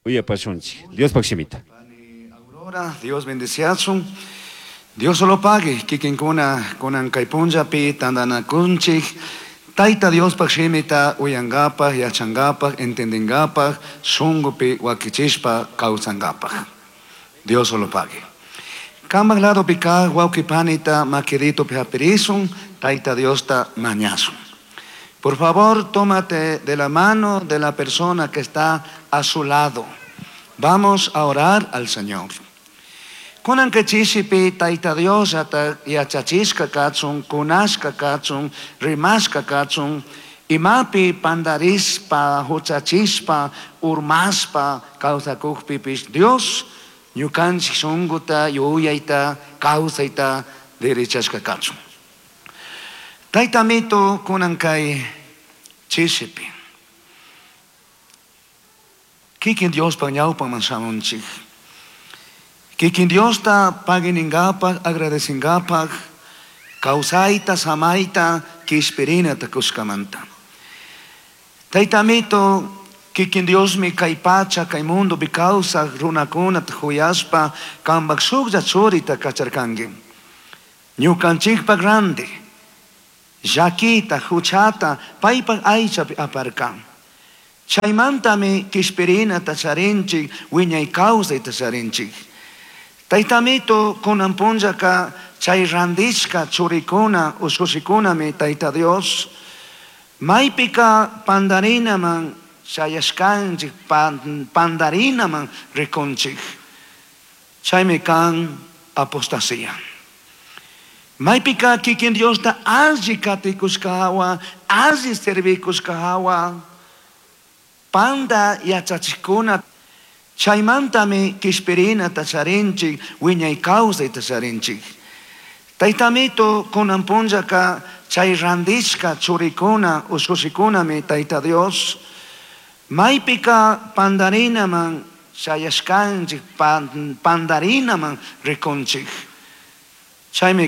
Uyapashunchik Diospaj shimita. Pani Aurora, Dios bendeciachun. Dios solo pague, kikinkuna kunan kay punllapi tandanakunchik. Tayta Diospaj shimita uyankapaj, yachankapaj, entendinkapaj, shunkupi wakichishpa kawsankapaj. Dios solo pague. Kambaj ladopi kaj wawqi panita makiritupi hapirishun, Tayta Diosta mañashun. Por favor, tómate de la mano de la persona que está a su lado. Vamos a orar al Señor. Kunan chishipi Tayta Dios ata yachachishka kachun, kunashka kachun, rimashka kachun, imapi pandarishpa, huchachishpa, urmashpa, kawsakukpipish Dios ñukanchik shunkuta, yuyayta, kawsayta derechashka kachun. Tayta Amito kunan kay chishipi. Kikin Diospa ñawpaman shamunchik. Kikin Diosta paguiningapak, agradecingapak, kawsayta, samayta, kishpirinata kushkamanta. Tayta Amito, kikin Diosmi kay pacha, kay mundopi kawsaq runakunata huyashpa, kambak shuklla churita kacharkanki. Ñukanchikpak ranti, llakita, huchata, paypak aychapi aparkan. Chaymantami kishpirinata charinchik, wiñay kawsayta charinchik. Tayta Amito kunan punllaka chay randishka churikuna, ushushikunami Tayta Dios, maypika pandarinaman chayashkanchik, pandarinaman rikunchik. Chaymi kan apostasía. Maypika kikin Diosta alli katikushka hawa, alli servikushka hawa, panda yachachikuna, chaymantami kishpirinata charinchik, wiñay kawsayta charinchik. Tayta Amito kunan punllaka chay randishka churikuna, ushushikunami Tayta Dios, maypika pandarinaman chayashkanchik, pandarinaman rikunchik. Chaymi